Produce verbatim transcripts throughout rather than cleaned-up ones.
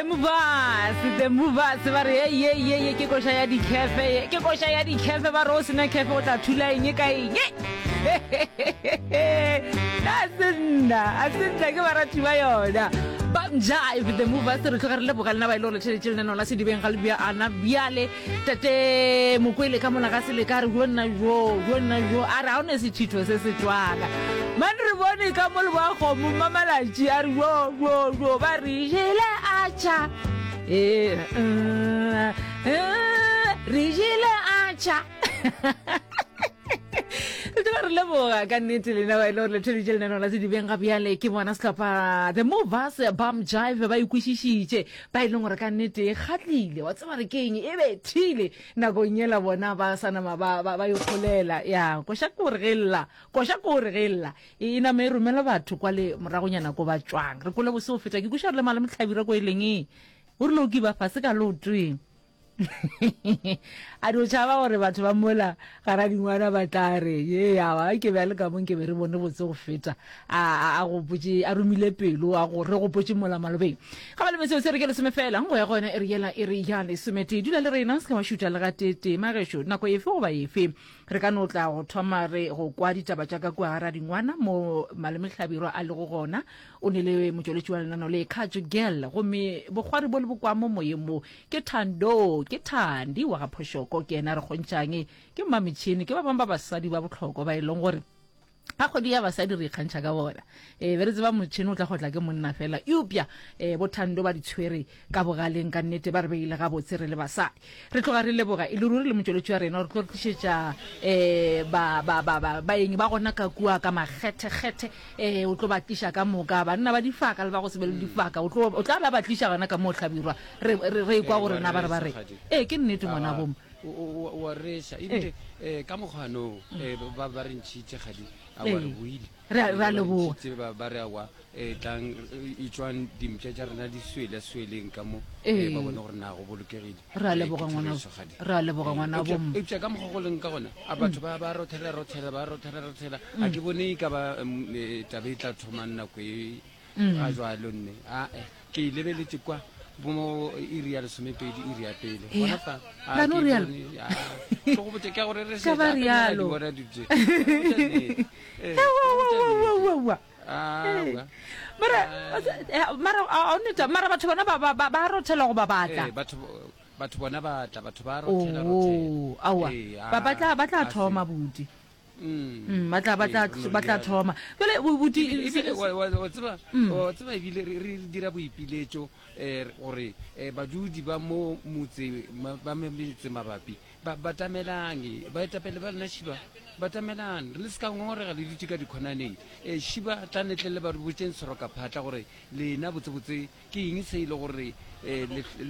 The Movers, The Movers ba re ye ye ye ye ke koša ya dikhefe ye ke koša ya dikhefe ba re o sena khefe o tla thula eng ka eng a se nna a se nna ke barati ba yona ba Jive The Movers re tloga re leboga lena ba ile gore theletše lenaneo la sedibeng ga le bja ana bjale tate mokwele ka mola ga se ka re jo nna jo jo nna jo a re ga o ne sethitho se se tswaka man re bone ka mo leboa kgomo mmamalatši a re jo jo jo ba re jele atšha ee re jele atšha re tloga re leboga ka nnete lena ba e le gore le theletše lenaneo la sedibeng ga bjale ke bona sehlopha The Movers Bam Jive ba ikwešišitše ba e leng gore ka nnete e kgatlile wa tseba re ke eng e bethile nakong yela bona ba sa nama ba ba ba ikgolela ya koša ke gore ge lla koša ke gore ge lla e nama e romela batho kwa le moragonyana ko ba tšwang re kole bose go feta ke kweša re le male mohlabira ko e leng e o rile o ke ba fase ka lootweng a dio tšhaba gore batho ba mola gara dingwana ba tla re ye awa ke be a le ka mong ke be re bone botse go feta a a gopotše a romile pelo a go re gopotše mola malobeng ga ba le meseo se re ke lesome fela go ya go yona e re yela e re ya lesometee dula le rena se ka wa šutha le gatetee magešo nako efe goba efe re ka no tla go thoma re go kwa ditaba tša ka kua gara dingwana mo malemehlabirwa a lego gona o ne le motšweletši wa lenaneo le Khatso Girl gomme bokgwari bo le bokwa mo moyeng mo ke Thando ke Thandi wa ga Phošoko ke yena re kgontšhang ke mmametšhini ke ba bangwe ba basadi ba bohlokwa ba e leng gore ga kgwedi ya basadi re ikgantšha ka bona e be re tseba motšhini o tla go tla ke monna fela eupša um bothando ba di tshwere ka bogaleng ka nnete ba re beile gabotse re le basadi re tloga re leboga e le ruri le motšweletši wa rena gore tlo re tlišetša um baeng ba gona ka kua ka makgethekgethe um o tlo ba tliša ka moka banna ba difaka le ba go se be le difaka o tla ba ba tliša gona ka moo hlabirwa re re kwa gore na ba re ba re ee ke nnete ngwana boma wa reša ebile um ka mokgwanong um ba ba re ntšhitše gadi awa re boile re a leboga ba re awa um tlang etswang dimpša tša rena di swele sweleng ka mo ba bone gore na go bolokegile re a leboga ngwana re a leboga ngwana bom eupša ka mokgwa go leng ka gona a batho ba ba rothela rothela ba rothela rothela a ke bone e ka ba taba e tla thomang nako e ga jwalo nne ae ke e lebeletše kwa bo iri ya lesomepedi iri ya pele gona fa a ke bone ke go botse ke gore re se ba rialo bona dutse mara mara a neta mara batho bona ba ba ba rothela go ba batla batho batho bona ba tla batho ba rothela rothela awa ba ba tla ba tla thoma buti Mm, ba tla ba tla ba tla thoma jale buti wa tseba wa tseba ebile re dira boipiletšo um gore badudi ba mo motse ba metse mabapi ba batamelang baetapele ba lena šiba batamelang re le se ka ngongorega le dutše ka dikhonaneng um šiba tla netle le ba re botseng seroka phatla gore lena botsebotse ke eng se e le gore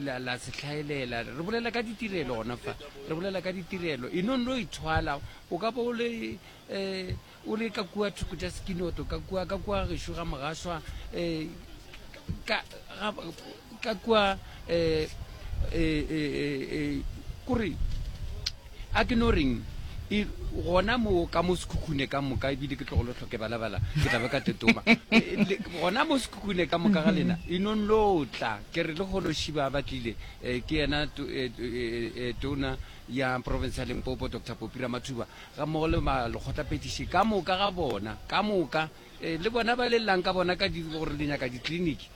la se hlaelela re bolela ka ditirelo gona fa re bolela ka ditirelo e no no ithwala o ka bo o le um o le ka kua thoko tša sekinoto ka kua ka kua gešo ga mogaswa um ka ka kua um kore a ke no reng gona mo ka mo sekhukhune ka moka ebile ke tlogolo tlhoke balabala ke tla be ka tetoma gona mo sekhukhune ka moka ga lena e nong lo tla ke re le golo šiba ba tlile ke yena tona ya province ya Limpopo Doctor Popi Ramathuba ga mmogo le malekgotlaphethiši ka moka ga bona ka moka le bona ba lellang ka bona ka gore le nyaka ditleliniki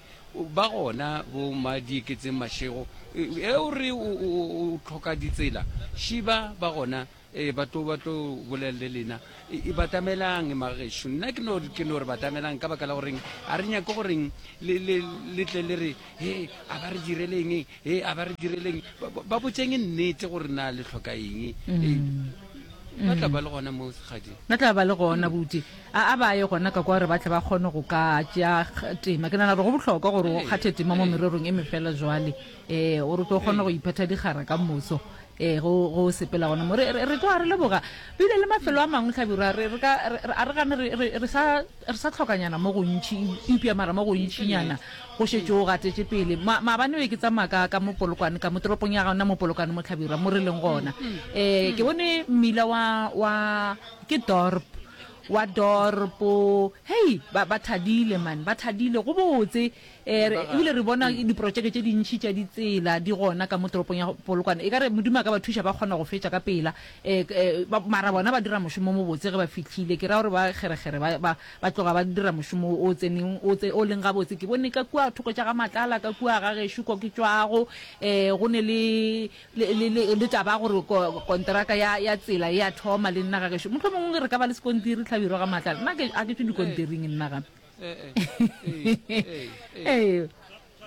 ba gona bo madieketseng mašego e o re o tlhoka ditsela šiba ba gona e ba tlo ba tlo bolela le lena e batamelang magešo nna ke no ke no re batamelang ka baka la goreng a re nyake goreng le le le tle le re he a ba re direleng he a ba re direleng ba botseng nnete gore na le tlhoka eng ba tla ba le gona mo segadi ba tla ba le gona buti a a ba ye gona ka kwa gore ba tle ba kgone go ka tšea tema ke nagana gore go bohlokwa gore o kgathe tema mo mererong e mefela jwale um gore o tlo kgone go iphetha dikgara ka moso um go go sepela gona mo re re tloga re leboga bile le mafelo a mangwe hlabirwa re re ka a re gane re re sa re sa tlhokanyana mo gontši eupša mara mo gontšinyana go šetše o gatetše pele maabane be ke tsamaya ka ka mo Polokwane ka mo toropong ya gona mo Polokwane mo Hlabirwa mo re leng gona um ke bone mmila wa wa ke dorp wa dorpo hei ba ba thadile man ba thadile go botse um ebile re bona diprojeke tše dintšhi tša ditsela di gona ka mo toropong ya Polokwane. E ka re Modimo a ka ba thuša ba kgona go fetša ka pela. Um mara bona ba dira mošomo o mobotse ge ba fihlile. Ke ra gore ba kgerekgere ba, ba, ba tloga ba dira mošomo o tseneng, o tse, o leng gabotse. Ke bone ka kua thoko tša ga Matlala, ka kua ga gešo ko ke tšwago, um go ne le, le, le, le, le taba ya gore ko, konteraka ya, ya tsela e a thoma le nna ga gešo. Mohlomongwe re ka ba le sekontiri Hlabirwa ga Matlala. Nna ke, a ke tšwe dikontiring nna gape. Ee,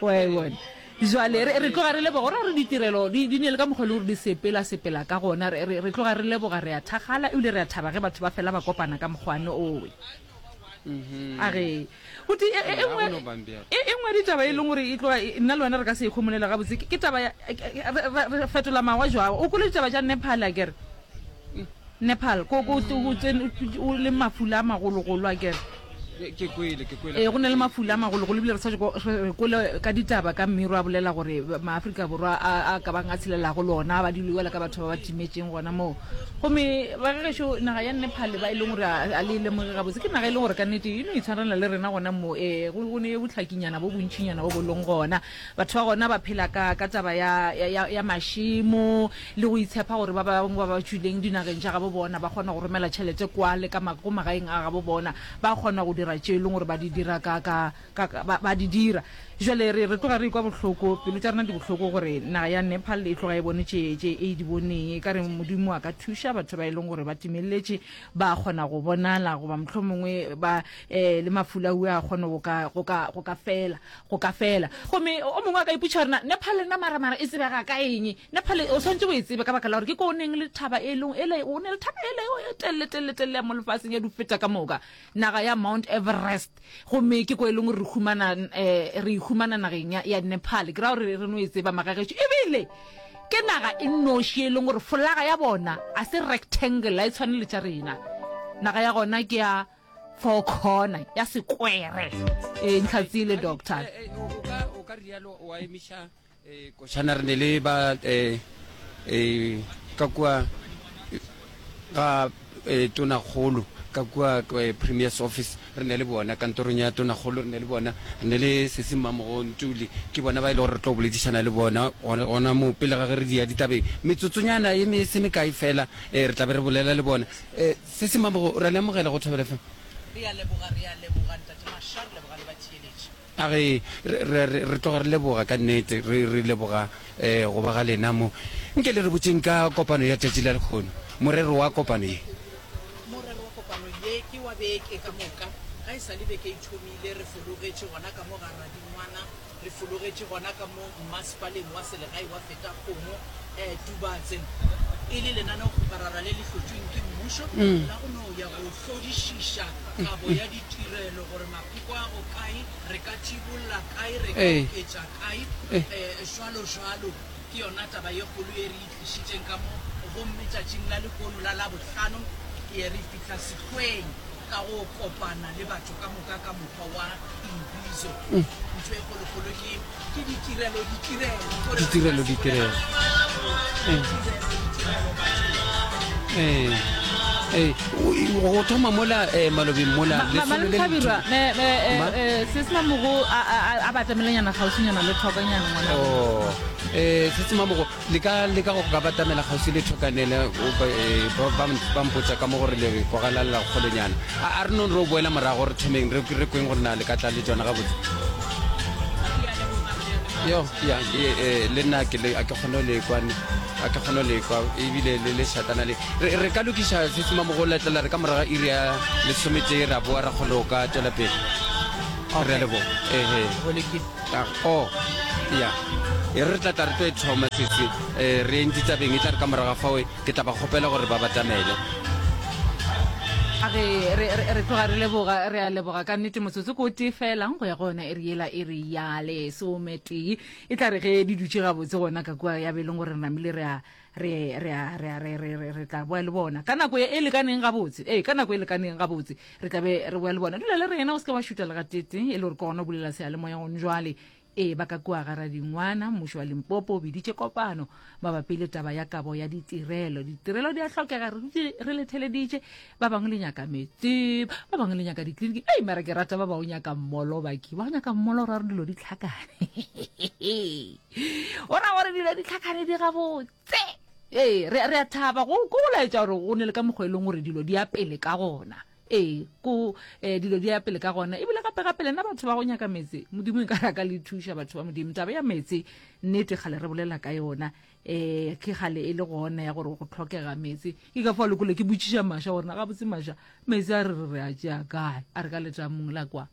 wa e bona. Jwale re, re tloga re leboga gore re ditirelo di, di ne le ka mokgwa e le gore di sepela sepela ka gona. Re, re, re tloga re leboga, re a thakgala ebile re a thaba ge batho ba fela ba kopana ka mokgwane owe. A ge buti e, e, e nngwe e, e nngwe ditaba e leng gore e tloga e, nna le wena re ka se e khomolele gabotse ke, ke taba ya re, re, re fetola mawa jwang. O kwele ditaba tša Nepal akere? Nepal ko, ko, o tsene o le mafula a magologolo akere? Ke kwele, ke kwele. Ee, go na le mafula a magologolo ebile re sa re kwele ka ditaba ka Mmiro a bolela gore maAfrika Borwa a a ka bang a tshelelago le ona ba dilo ka batho ba ba timetšeng gona moo. Gomme ba gešo naga ya Nepal ba e leng gore a le lemoge gabotse ke naga e leng gore ka nnete e no itshwarela le rena gona mo. Ee, go go ne bohlakinyana bo bontšinyana bo bo leng gona. Batho ba gona ba phela ka ka taba ya ya ya mašemo le go itshepa gore ba bangwe ba ba tšwileng dinageng tša gabo bona ba kgona go romela tšhelete kwa le ka go magaeng a gabo bona ba kgona go dira tše e leng gore ba di dira ka ka ka ba, ba di dira. Jwale re re tloga re ikwa bohloko, pelo tša rena di bohloko gore naga ya Nepal e tloga e bone tše tše e di boneng. E ka re Modimo a ka thuša batho ba e leng gore ba timeletše ba kgona go bonala goba mohlomongwe ba eh, le mafula a kgone go ka go ka go ka fela go ka fela. Gomme o mongwe a ka ipotšiša gore na Nepal nna mara mara e tsebega ka eng? Nepal o swanetše o e tsebe ka baka la gore ke ko o neng le thaba e leng ele o ne le thaba ele e telele telele telele ya mo lefaseng ya di feta ka moka naga ya Mount Everest. Gomme ke ko e leng gore re humana eh, re humana nageng ya, ya Nepal. Ke ra gore re no e tseba magagešu ebile ke naga e nnoši e leng gore folaga ya bona a se rectangle, a e tshwane le tša rena. Naga ya gona ke ya four corner, ya sekwere. E ntlhatsile doctor. O ka o ka rialo wa emiša eh, košana re ne le ba eh, eh, ka kua ga eh, tonakgolo ka kua eh, premier's office re ne le bona kantorong ya tonakgolo re ne le bona re ne le sesi Mmamogo Ntuli ke bona ba e le gore re tlo boledišana le bona gona gona mo pele ga ge re dia ditabeng metsotsonyana e me se mekae fela eh, re tla be re bolela le bona eh, sesi Mmamogo re le amogela go Thobela F M. Re a leboga, re a leboga Ntate Masha, re leboga le batheeletši. A re, re, re, re tloga re leboga ka nnete, re, re leboga eh, go ba ga lena mo. Nke le re botšeng ka kopano ya tšatši la lekgono, morero wa kopano ye. Morero wa kopano ye ke wa beke ka moka. Ga e sa le beke e thomile, re fologetše gona ka mo ga Radingwana, re fologetše gona ka mo mmasepaleng wa selegae wa Fetakgomo, eh, Tubatse, e le lenaneokgoparara le le hlotšweng ke mmušo la go no ya go hlodišiša kabo ya ditirelo gore mapheko a go kae, re ka thibolla kae, re ka oketša kae, eh, jwalo jwalo. Ke yona taba ye kgolo ye re e tlišitšeng ka mo. Gomme tšatšing la lehono la Labohlano, ye re fihla sehlweng ka go kopana le batho ka moka ka mokgwa wa imbizo. Ntho e kgolokgolo ke ke ditirelo, ditirelo, gore re Ditirelo, ka se ditirelo. bolela ditirelo, ditirelo bathong. Ee, ee, o- go thoma mola eh, malobeng mola Ma- ma- lesolo le le Malome Hlabirwa, me, me, eh, Ma? eh, se se Mamogo a, a, a, a batamelenyana kgauswinyana le thokanyana ngwana. Oh, eh, se se Mamogo le ka le ka go ka batamela kgauswi le thokanele o ba, eh, ba, ba, ba mpotša ka mo gore le kwagalalela kgolenyana. A, a re nong re o boela morago re thomeng re, re kweng gore na le ka tla le tšona gabotse. Yo, ya, e, e, le nna ke le, a ke kgone le kwa, a ke kgone le kwa, ebile le le šatana le. Re, re ka lokiša se se Mamogo la tlela re ka morago ga iri ya lesometee ra boa ra kgone go ka tšwela pele. Re a leboga. Ehe. Go lokile. Ah, oh, ya. E re tla tla re tlo e thoma sese, eh, re eng ditabeng e tla re ka morago ga fao ke tla ba kgopela gore ba batamele. A re, re, re, re tloga re leboga, re a leboga ka nnete. Motsotso ko tee fela go ya go yona iri yela, iri ya lesometee. E tla re ge di dutše gabotse gona ka kua ya be e leng gore re namile re a, re, re a, re a, re, re, re, re tla boa le bona ka nako e lekaneng gabotse. Ee, ka nako e lekaneng gabotse re tla be re boa le bona. Dula le rena, o se ke wa šuta le gatete, e le gore ke gona o bulela seyalemoya gone jwale. Ee, ba ka kua ga Radingwana, mmušo wa Limpopo o biditše kopano mabapi le taba ya kabo ya ditirelo. Ditirelo di a hlokega, re dutše re le theleditše. Ba bangwe le nyaka meetse, ba bangwe le nyaka dikliniki. Ei, mara ke rata ba ba o nyaka mmolo, baki. Ba o nyaka mmolo, o ra gore dilo di hlakane. O ra gore dilo di hlakane di gabotse. Ee, re, re a thaba go, ko go laetša gore go ne le ka mokgwa e leng gore dilo di ya pele ka gona. Ee, ko eh, dilo di ya pele ka gona. Ebile gape gape lena batho ba go nyaka meetse, Modimo e ka re a ka le thuša batho ba Modimo. Taba ya meetse, nnete kgale re bolela ka yona. Eh, ke kgale e le gona ya gore go hlokega meetse. Ke ka fao le kole ke botšiša Masha gore na gabotse Masha, meetse a re re re a tšea kae? A re ka letamong la kwa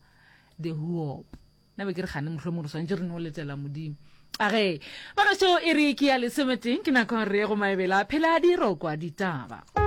The Hoop. Nna be ke re kgane mohlomong re swanetše re no letela Modimo. A ge, bagešo e re ke ya lesometeng, ke nako ya gore re ye go maebela phela di rokwa ditaba.